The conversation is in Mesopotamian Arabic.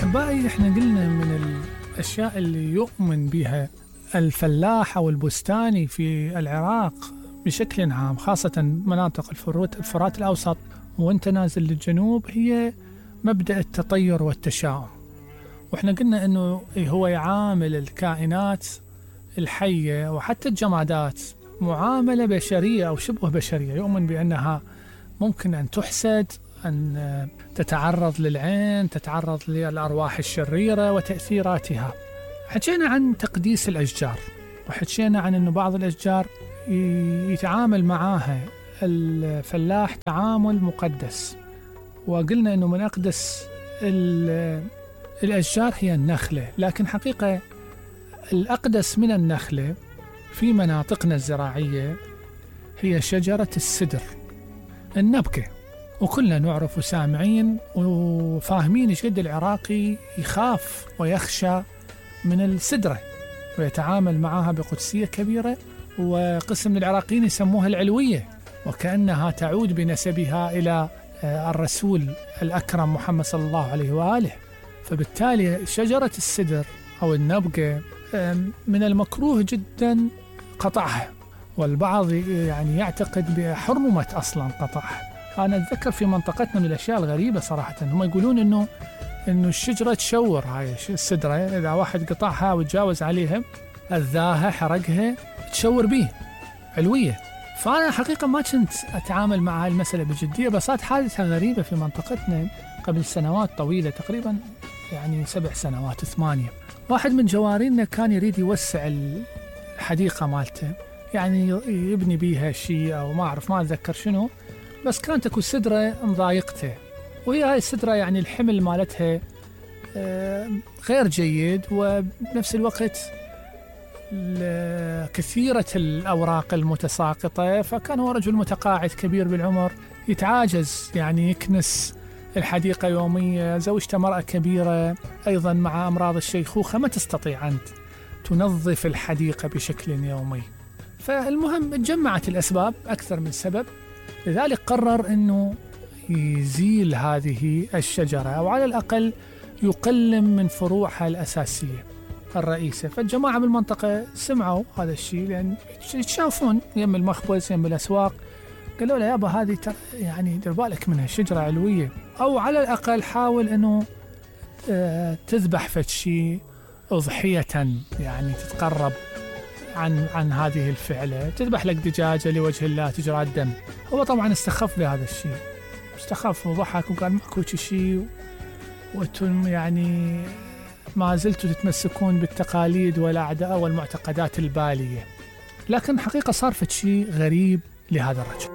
أحبائي، إحنا قلنا من الأشياء اللي يؤمن بها الفلاح أو البستاني في العراق بشكل عام، خاصة مناطق الفرات الأوسط وانت نازل للجنوب، هي مبدأ التطير والتشاؤم. وإحنا قلنا أنه هو يعامل الكائنات الحية وحتى الجمادات معاملة بشرية أو شبه بشرية، يؤمن بأنها ممكن أن تحسد، أن تتعرض للعين، تتعرض للأرواح الشريرة وتأثيراتها. حكينا عن تقديس الأشجار، وحكينا عن أنه بعض الأشجار يتعامل معاها الفلاح تعامل مقدس، وقلنا أنه من أقدس الأشجار هي النخلة. لكن حقيقة الأقدس من النخلة في مناطقنا الزراعية هي شجرة السدر النبكة. وكلنا نعرف وسامعين وفاهمين إيش قد العراقي يخاف ويخشى من السدرة ويتعامل معها بقدسية كبيرة، وقسم من العراقيين يسموها العلوية، وكأنها تعود بنسبها إلى الرسول الأكرم محمد صلى الله عليه وآله. فبالتالي شجرة السدر أو النبقة من المكروه جدا قطعها، والبعض يعني يعتقد بحرمة أصلا قطعها. أنا أتذكر في منطقتنا من الأشياء الغريبة صراحة، هم يقولون إنه الشجرة تشور، هاي السدرة إذا واحد قطعها وتجاوز عليها أذاها حرقها تشور به علوية. فأنا حقيقة ما كنت أتعامل مع المسألة بجدية، بس صارت حادثة غريبة في منطقتنا قبل سنوات طويلة، تقريبا يعني 7 سنوات 8. واحد من جوارينا كان يريد يوسع الحديقة مالته، يعني يبني بيها شيء أو ما أعرف، ما أتذكر شنو، بس كانت تكون سدرة مضايقته، وهي هاي السدرة يعني الحمل مالتها غير جيد، وبنفس الوقت كثيرة الأوراق المتساقطة. فكان هو رجل متقاعد كبير بالعمر يتعاجز يعني يكنس الحديقة يوميا، زوجته مرأة كبيرة أيضا مع أمراض الشيخوخة، ما تستطيع أن تنظف الحديقة بشكل يومي. فالمهم تجمعت الأسباب أكثر من سبب، لذلك قرر أنه يزيل هذه الشجرة، أو على الأقل يقلم من فروعها الأساسية الرئيسة. فالجماعة بالمنطقة سمعوا هذا الشيء، لأن يتشافون يم المخبز يم الأسواق، قالوا له يابا هذه يعني دير بالك منها شجرة علوية، أو على الأقل حاول أنه تذبح فد شيء أضحية، يعني تتقرب عن هذه الفعلة، تذبح لك دجاجة لوجه الله تجرى الدم. هو طبعا استخف بهذا الشيء، استخف وضحك وقال ماكو شيء، وانتم يعني ما زلتوا تتمسكون بالتقاليد والأعداء والمعتقدات البالية. لكن حقيقة صار فد شيء غريب لهذا الرجل.